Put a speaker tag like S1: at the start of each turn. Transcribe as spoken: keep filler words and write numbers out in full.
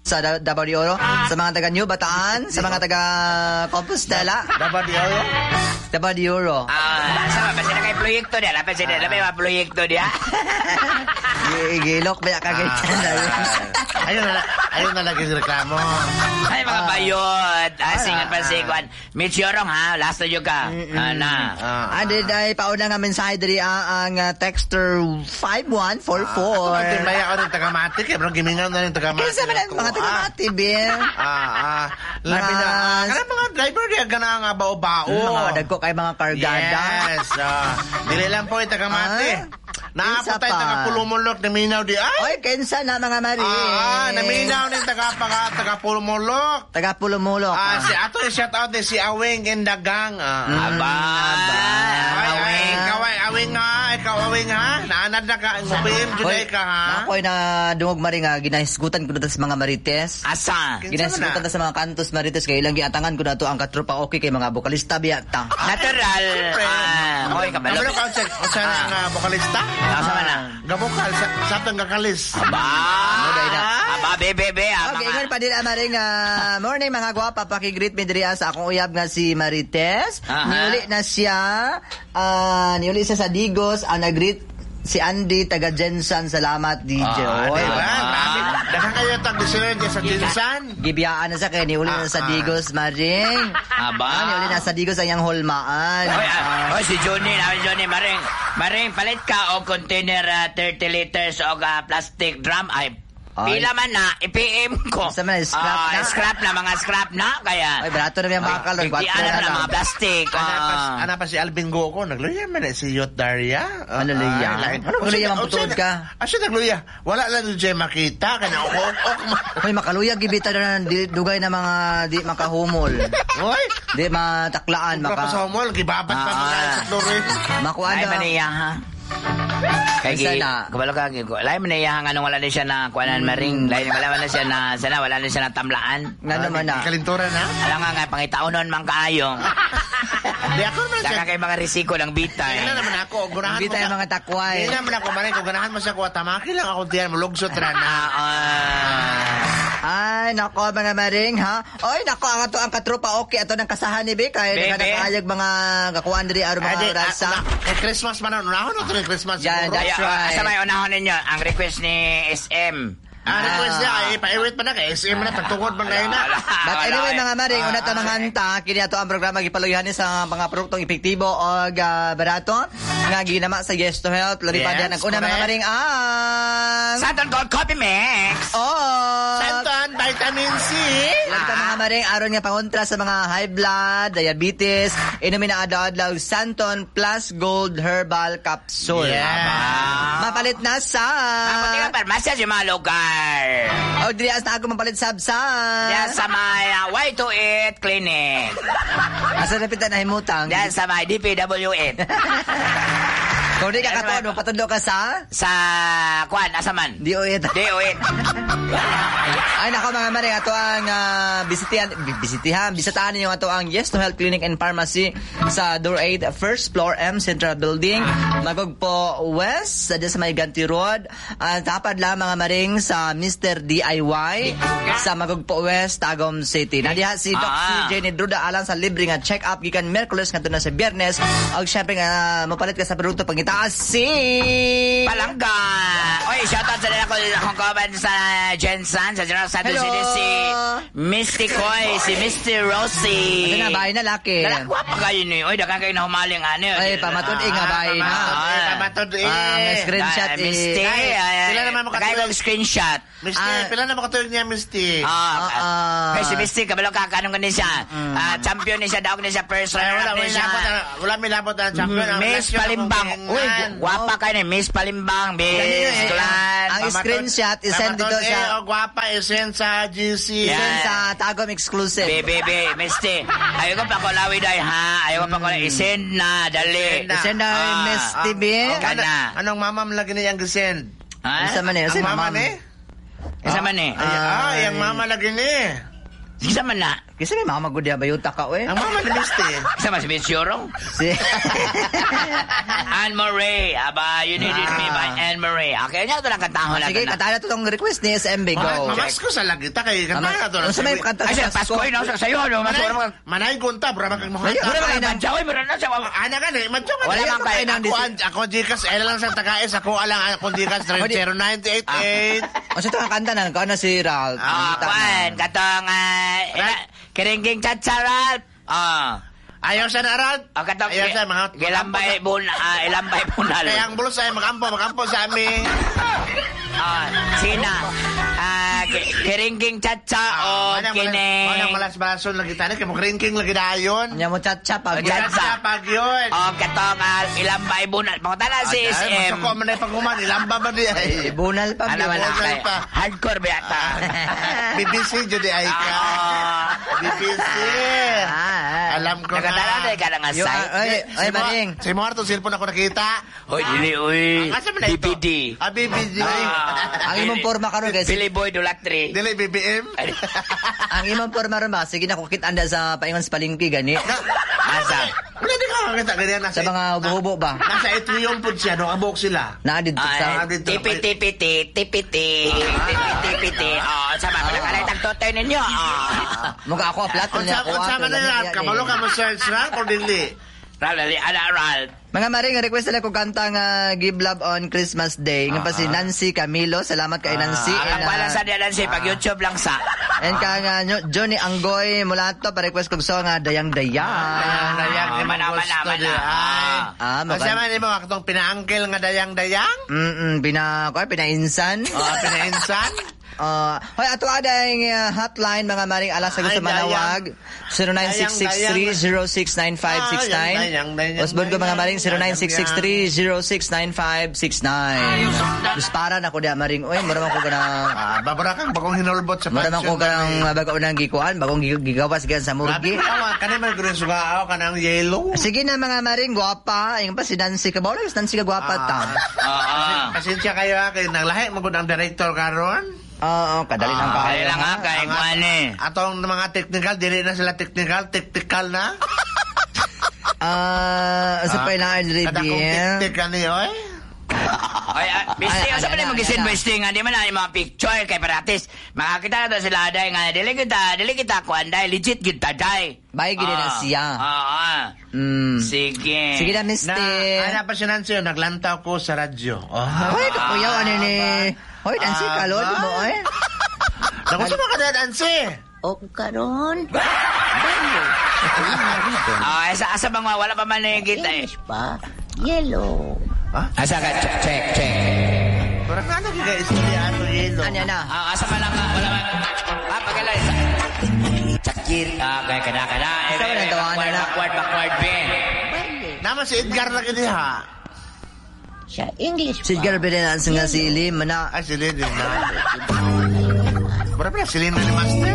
S1: Sa Da- Davao de Oro, sa mga taga New Bataan, sa mga taga Compostela.
S2: Davao de Oro?
S1: Davao de Oro.
S3: Ah, sama ba sila kay proyekto diya? Lapit sila, lapit mga proyekto diya.
S1: Gilok ba ka ganyan?
S2: Ayun na, ayun na lagi reklamo.
S3: Ay, mga bayot. Ah, singan pa sikuan. Mitch Yorong, ha? Last na yun ka. Ah, na.
S2: Ah.
S1: Andi dahil pauna nga mensahe diri ah, ang ah, texter five one four four.
S2: Ako maya ako ng tagamati kay bro gimingaw na rin tagamati.
S1: Kinsa man ang mga tagamati, Bill?
S2: Ah, ah. Labi na.
S1: Mga-
S2: Kana mga driver diya gana nga bao-bao.
S1: Mga dagko kay mga kargada.
S2: Yes. ah. Dili lang po yung tagamati.
S1: Ah.
S2: Naapot
S1: Kinsa
S2: tayo
S1: pa?
S2: taga Pulumulok naminaw di ay.
S1: Oy, kinsa na mga mari?
S2: Ah, ah, naminaw ni taga taga taga Pulumulok.
S1: Taga Pulumulok.
S2: Ah, si ato yung shout out ni si Awing in the gang. Ah.
S3: Aba.
S2: Ay, ay,
S3: Awing.
S2: ikaw ay awing ha, ikaw awing ha. Naanad na ka, ngupim juday ka ha.
S1: Ako ay nadungog mari nga ginahisgutan ko na sa mga marites.
S3: Asa?
S2: Kinsa man
S1: Ginahisgutan
S2: na?
S1: ta sa mga kantos marites kay ilang giatangan ko na to ang katropa okay kay mga vokalista biya ta.
S3: Natural.
S2: Siyempre.
S3: Ah, hoy, kabalo.
S2: Kabalo ka sa sa nga vokalista?
S3: Asa man na?
S2: Gabokal sa sa atong gakalis.
S3: Aba.
S1: Ano dahil na?
S3: Aba, be, be, be. Ah,
S1: Okay,
S3: mga-
S1: ingon pa din maring ah, morning mga gwapa, paki-greet mi diri ah, sa akong uyab nga si Marites.
S3: Aha.
S1: Niuli na siya. Ah, niuli siya sa Digos. Ang nag-greet si Andy taga Jensan. Salamat, D J.
S3: Ah,
S1: Oy,
S2: Diba?
S3: Ah.
S2: Grabe. Daghang kayo tag listener diyan sa Jinsan.
S1: Gibiyaan na sa kay niuli na sa
S2: Ah, ah.
S1: Digos, Maring.
S3: Aba.
S1: Ah, niuli na sa Digos ang iyang hulmaan.
S3: Hoy, ah, hoy, si Johnny, namin Johnny, Maring, Maring, palit ka og container ah, thirty liters og ah, plastic drum. Ay,
S1: Ay.
S3: pila man na, i-P M ko.
S1: Sa man, scrap
S3: Ah,
S1: na.
S3: Scrap na, mga scrap na, kaya.
S1: Ay, barato na yung bakal.
S3: Ay,
S1: Ay,
S3: ano
S1: na
S3: na,
S1: lang.
S3: mga plastic.
S2: Ana pa,
S3: ah.
S2: ana pa si Alvin Gogo, nagluya man eh, si Yot Daria. Ah,
S1: Ano, luya?
S2: ay, lain.
S1: Ano, luya, mamputuod ka?
S2: Asa nagluya? Wala lang dyan makita kana ok ok.
S1: Hoy, makaluya gibita na di, dugay na mga di makahumol.
S2: Oy,
S1: Di mataklaan
S2: maka.
S1: maka
S2: Sa mall, gibabat pa
S3: Ah.
S2: mga sa floor.
S1: Makuha
S3: Ay,
S1: na.
S3: maniya, ha? Kay
S1: Kinsa
S3: gi,
S1: na?
S3: kabalo ka, gi- lain man niya nga nung wala na siya na kuanan maring, lain wala man na siya na sana wala na siya na tamlaan.
S1: Nga naman na.
S2: Kalintura na.
S3: Alam nga nga pangitaonon man kaayo.
S2: Di ako naman siya.
S3: Saka kay mga risiko ng bitay.
S2: Di na naman ako. Ganahan
S1: Hindi
S2: mo
S1: tayo
S2: sa-
S1: mga takway.
S2: Di naman ako maring. Kung ganahan mo sa kuha, tamaki lang ako diyan. Mulugsot ra na.
S3: Ah, ah.
S1: Ay, nako mga maring, ha? Oy, nako, ang ato ang katropa, okay, ato ng kasahan ni Be, kay
S3: Be, Be.
S1: nakakayag mga kakuan diri aron
S2: Ay,
S1: mga
S2: di,
S1: rasa.
S2: ah, una- eh, Christmas man na. Unahon na ito ng Christmas
S1: Yan,
S2: siguro.
S1: that's
S3: Kaya,
S1: right.
S3: sa may unahon ninyo, ang request ni S M.
S2: Ang request niya ay paiwit pa na kay S M na tagtungod man kayo na.
S3: Wala,
S1: But
S3: wala,
S1: anyway,
S3: eh.
S1: mga maring, una ta mga hanta, kini ato ang programa gipaluyahan ni sa mga produktong epektibo og ah, barato nga ginama sa Yes to Health. Labi pa
S2: Yes,
S1: diyan ang una mga
S2: correct.
S1: maring ang
S3: Santon Gold Coffee Mix.
S1: Oh!
S2: Santon, vitamin C.
S1: Labi pa mga maring aron nga pangontra sa mga high blood, diabetes, inumin na adlaw-adlaw Santon Plus Gold Herbal Capsule.
S2: Yeah.
S1: Mapalit na sa
S3: Maputi ka parmasya sa mga lugar.
S1: O diri as na ako mapalit sab sa
S3: Diyan sa may uh, Y twenty-eight Clinic.
S1: Asa na pita nahimutang?
S3: Diyan sa may D P W eight.
S1: Kung di ka katuon, mapatudlo ka sa
S3: Sa kuan, asa man?
S1: D O eight.
S3: D O eight.
S1: Ay nako mga maring, ato ang ah, bisitihan bi- bisitihan bisitahan ninyo ato ang Yes to Health Clinic and Pharmacy sa door eight, first floor, M Central Building, Magugpo West, sa sa may Ganti Road. At tapad lang mga maring sa Mister D I Y sa Magugpo West, Tagum City. Nadiha si Doc
S3: Ah.
S1: C J ni Druda alang sa libre nga check-up gikan Miyerkules ngadto na sa Biyernes. Og syempre nga mopalit ka sa produkto pangitaas si
S3: Palangga. Oy, shoutout sa nila ko akong kaban sa Jensen, sa General Santos
S1: Hello.
S3: City, si Misty Koy, si Misty Rosie.
S1: Ano na, bahay na laki.
S3: Dala, gwapa kayo ni. Oy, daghang kayo na humaling ano.
S1: Ay, pamatud-i nga bahay na.
S2: Ah, pamatod eh.
S1: Ang screenshot
S3: Ah,
S1: eh.
S3: Misty.
S2: Ay,
S3: ay,
S2: sila naman makatulog.
S3: Kaya kong screenshot.
S2: Misty,
S1: Ah.
S2: pila na makatulog niya, Misty?
S3: Ah,
S1: Ah, ah.
S3: kay si Misty, kabalo ka, kanong ganin siya. Ah, champion ni siya, daog ni siya, first
S2: Ay, wala,
S3: runner up ni
S2: wala,
S3: siya.
S2: milabot, ah, wala milabot ang champion. Ang
S3: Miss
S2: last yun
S3: Palimbang.
S2: akong
S3: Uy,
S2: gingan.
S3: gwapa kayo ni Miss Palimbang, Miss
S1: Ganyan eh,
S3: Glan.
S1: ang- screenshot, isend dito
S2: Pamatod,
S1: sa-
S2: eh, o gwapa, isend sa G C.
S3: Yeah.
S1: Send sa Tagum Exclusive.
S3: Be, be, be, Misty. Ayaw ko pa kulawi day, ha? Ayaw ko pa kulawi. Isend na, dali.
S2: Isend na.
S1: Send na
S3: Ah,
S1: Miss T V.
S2: Ang-
S3: Kana.
S2: Anong mamam lagi niya ang gisend?
S3: Ha?
S1: Isa man eh.
S2: Ang
S1: Isa
S2: mama
S1: mama
S2: ni?
S3: Isa man eh.
S2: Ay, ay, ang mama lagi ni.
S3: Sige man na.
S1: Kasi may mama gud ya bayuta ka oy.
S2: Ang mama ni Misty.
S3: Sa mas Miss Yorong.
S1: Si
S3: Anne Murray. Aba, You Needed Me by Anne Murray. Okay, nya ito lang kantahon
S1: Ah,
S3: natin
S1: Sige,
S3: na.
S1: kanta na to tong request ni S M B. Go.
S2: Mamasko sa lagi ta kay kanta na to.
S1: Unsa may kanta
S3: Ay,
S1: sa
S3: sa Pasko, no? Sa sayo, no? Mas
S2: Manay,
S3: wala
S2: manay gunta, bro, kang
S1: Ay,
S2: mga.
S3: Wala
S1: Wala
S3: man
S1: man
S3: kayo, wala na siya.
S2: Ana ka ni, madyo ka.
S3: Wala man kayo.
S2: Ako ang ako Gcash, ay lang sa tagais, ako alang ako Gcash three zero nine eight eight.
S1: Unsa to ang kanta na? Kuan na si Ralph.
S3: Ah,
S1: Ang
S3: kwan, katong, ah, ila- Kiringking Chacha, Ralph. Ah.
S2: Ayaw sa narat.
S3: Ah, katong,
S2: Ayaw sa mga
S3: Gilambay bun, ah, ilambay bunal.
S2: Kaya ang bulsa ay magampo, magampo sa amin.
S3: Ah, sina. Ah, ki- Kiringking Chacha o
S2: Manang
S3: kining
S2: manang malas-balason lagi tani kay mo king lagi dayon.
S1: Nya mo chat-chat pag
S3: Chat-
S2: Chat pag yun.
S3: O katong ah, ilambay bunal. Mga tala si S M.
S2: Masuko man ay paghuman, ilamba ba di ay.
S1: Bunal pa.
S3: Ano man
S2: Bunal
S3: na,
S2: pa.
S3: hardcore ba yata?
S2: B B C jud di ay ka.
S3: Ah.
S2: B B C.
S1: Ah, ah.
S2: Alam ko na.
S3: Nakatala na ka na nga
S1: Yo,
S3: site.
S1: ay, ay, maring.
S2: Si mo atong cellphone ako nakita.
S3: Hoy, dili, uy.
S2: Asa man na ito?
S3: D P D.
S2: Ah, B B G.
S3: Ah.
S1: Ang imong porma karon guys.
S3: Billy Boy Dulatri.
S2: Dili B B M.
S1: Ang imong porma ron ba? Sige na kukit anda sa paingon sa palengke gani.
S3: Asa?
S2: Wala di ka makakita ganyan nasa
S1: Sa mga hubo-hubo ba?
S2: Nasa atrium po siya, no abok sila.
S1: Naa didto sa
S3: Ay,
S2: dito.
S3: T P T P T T P T T P T P T. Oh, sama pala ka lang tagtotoy ninyo. Ah.
S1: Mukha ako flat
S2: Unsa
S1: niya ako.
S2: unsa man na lang kabalo ka mo search na or dili.
S3: Ralph, dali, ala, Ralph.
S1: Mga maring, request nila ko kanta nga Give Love on Christmas Day. Nga pa si Nancy Camilo. Salamat kay Nancy.
S3: Ah,
S1: And,
S3: ang wala
S1: ah,
S3: sa diyan si pag YouTube lang sa.
S1: And ka nga nyo- Johnny Anggoy Mulato pa-request kog song nga Dayang Dayang.
S2: Dayang dayang
S3: Ah,
S2: ni
S3: mana,
S2: gusto
S3: mana,
S2: di
S3: mana.
S2: ay.
S1: Ah,
S2: Kasi
S1: magan-
S2: man imo akong pinaangkel nga dayang-dayang.
S1: Mm-mm, pina, ko pinainsan.
S2: Oh, pinainsan.
S1: Uh, hoy, ato ada yung uh, hotline mga maring alas sa gusto
S2: Ay, dayang.
S1: manawag. zero nine six six three zero six nine five six nine.
S2: Dayang, dayang,
S1: Usbon ko mga maring
S2: dayang,
S1: zero nine six six three zero six nine five six nine. Dispara na ko diya maring. Uy, mura man ko ganang
S2: Ah, babara kang bagong hinulbot sa
S1: Mura man ko ganang uh, bago unang gikuan, bagong gi- gigawas gan sa
S2: Grabe
S1: murgi.
S2: ka naman, kanay man green suga kanang yellow.
S1: Sige na mga maring, gwapa. Yung pa si Nancy ka ba? Wala si Nancy ka gwapa ta.
S3: Oo.
S2: Pasensya kayo ha, kay nanglahi mo gud ang director karon.
S1: Oo, kadali lang
S3: Kaya
S1: kayo.
S3: lang ha, kay
S2: Ang
S3: kuan eh.
S2: Atong mga technical, dili na sila technical, technical na.
S1: Ah, sa pa ilang
S2: Kada kong
S1: review.
S2: tik-tik kani, oy.
S3: Ay, ah, Bisti,
S1: Ay,
S3: unsa
S1: ay,
S3: man
S1: ay,
S3: mo
S1: ay,
S3: gisin
S1: ay.
S3: Bisti nga di man na yung mga picture kay paratis. Makakita na to sila day nga dili kita, dili kita kuan day, legit gid ta day.
S1: Bye, gid na siya.
S3: Ah, ah.
S1: Mm.
S3: Sige.
S1: Sige na, Misty.
S2: Na, ana pa si Nancy, oh, naglantaw ko sa radyo. Oh.
S1: Hoy, kakuyaw, ano ni... Hoy, Nancy,
S2: Ah,
S1: kalod
S2: ba?
S1: mo, ay.
S2: Naku, sa mga kada, Nancy.
S4: O karon,
S3: Ah, asa asa bang wala pa man na kita eh.
S4: English pa, yellow.
S3: Asa ka check check check.
S2: Parang nga nagkika-istorya ato yelo.
S1: Ano na?
S3: Ah, asa man lang wala man. Ah, pagala isa. Sakir. Ah, kay kada kada.
S1: Asa man ang tawanan
S3: Backward,
S1: na?
S3: backward, backward, Ben.
S4: Bale,
S2: Naman si Edgar lagi diha.
S4: siya English
S1: Si
S4: pa.
S1: Edgar Berenan nga si Lim, mana.
S2: Ay, si Lynn na. Mura pala si Lynn na ni Master.